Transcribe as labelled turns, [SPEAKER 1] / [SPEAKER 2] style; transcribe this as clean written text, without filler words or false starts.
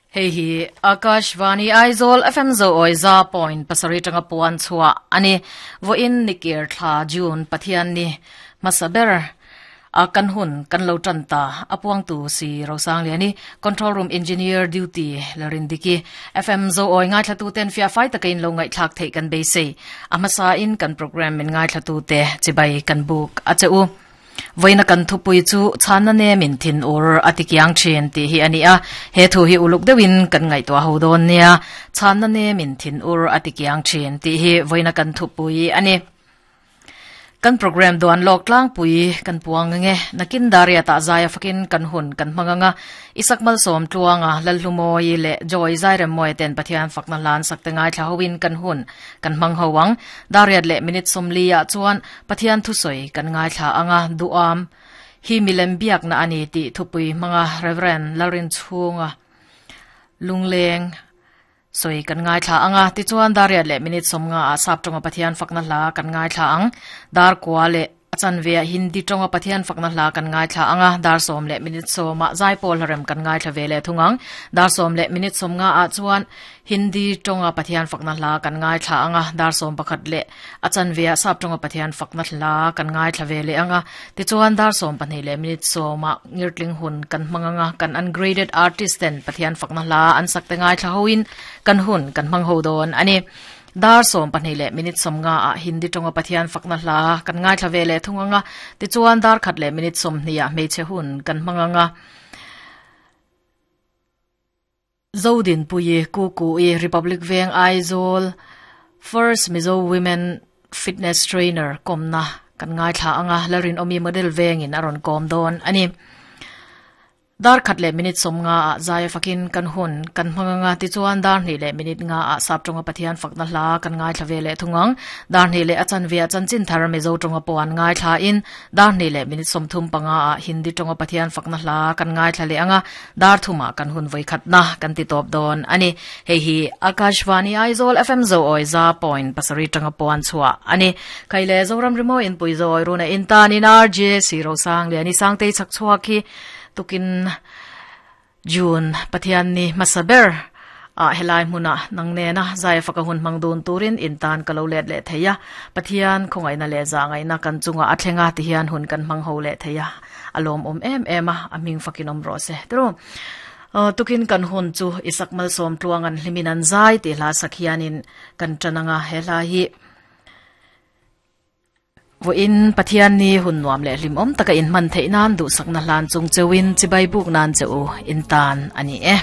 [SPEAKER 1] Hei hi Akashvani Aizawl FM zo awi za point pasarih tanga puan chhuah a ni. Vawiin nikir thla June Pathian ni hmasa ber a kan hun kan lo tan ta a puangtu si Rosangliani Control Room Engineer Duty Larindiki FM zo awi ngaithlatu ten fiah fai taka in lo ngaihthlak theih kan beisei. A hmasa in kan program min ngaithlatu te chibai kan buk a che u. Vawiina kan thupui chu chhanna nemin thin ur a ti kiang thin tih hi a ni a, he thu hi uluk deuhin kan ngaihtuah ho dawn nia. Chhanna nemin thin ur a ti kiang thin tih hi vawiina kan thupui a ni. Kan program duan lawk tlangpui kan puang ang e. Nakin Dariatah zaia fakin kan hun kan hmang ang a. Isak Malsawm Tluanga, Lalhlumawi leh Joy Zairemmawi ten Pathian fakna hlan sak te ngaithla hoin kan hun kan hmang ho ang. Dariat leh minute 40 ah chuan Pathian thusawi kan ngaithla ang a, duham hi milem biakna a ni tih thupui hmanga Rev. Lalrinchhunga lungleng sawi kan ngaithla ang a. Tichuan Dariat leh minute 50 ah Sap tawnga Pathian fakna hla kan ngaithla ang. Dar kua leh a chanve ah Hindi tawnga Pathian fakna hla kan ngaithla ang a, dar sawm leh minute 10 ah Zaipawl hlarem kan ngaithla ve leh thung ang. Dar sawm leh minute 50 ah chuan Hindi tawnga Pathian fakna hla kan ngaithla ang a, dar 11 leh A chanve ah sap tawnga Pathian fakna hla kan ngaithla ve leh ang a, tichuan dar 12 leh minute 10 ah ngirtling hun kan hmang ang a, kan ungraded artist ten Pathian fakna hla an sak te ngaithla ho in kan hun kan hmang ho dawn a ni. Dar 12 leh minute 50 ah Hindi tawnga Pathian fakna hla kan ngaithla ve leh thung ang a, tichuan dar khat leh minute 20 ah hmeichhe hun kan hmang ang a. Zodinpuii Kukui Republic Veng Aizawl First Mizo Women Fitness Trainer kawmna kan ngaithla ang a, Lalrinawmi Model Vengin a rawn kawm dawn a ni. Dar khat leh minute 50 ah zaia fakin kan hun kan hmang ang a, tichuan dar hnih leh minute nga ah sap tawnga Pathian fakna hla kan ngaithla ve leh thung ang. Dar hnih leh a chanve ah chanchin thar Mizo tawnga pawh an ngaithla in dar hnih leh minute 35 ah Hindi tawnga Pathian fakna hla kan ngaithla leh ang a, Dar thumah kan hun vawikhatna kan ti tawp dawn a ni. Hei hi Akashvani Aizawl FM Zoawi za point pasarih tanga puan chhuah a ni. Kai leh Zoram Rimawi inpui Zoawi runa intanin RJ Sirosang Liani Sangtei chhak chhuak hi tukin June Pathian ni hmasa ber ah helai hmuna nang nena zai faka hun hmang dun turin intan ka lo let leh thei a. Pathian khawngaihna leh zahngaihna kan chunga a thlenga tihian hun kan hmang ho leh thei a. A lawmawm em em a, a hming fakin awm rawh se. Tiro, tukin kan hun chu Isak Malsawm tluang an hlimin an zai tih hla sak hianin kan tan ang a, he hla hi vawiin Pathian ni hun nuam leh hlimawm taka inhman theih nan duhsakna hlan chung cheuhin chibai buk nan che u intan a ni e.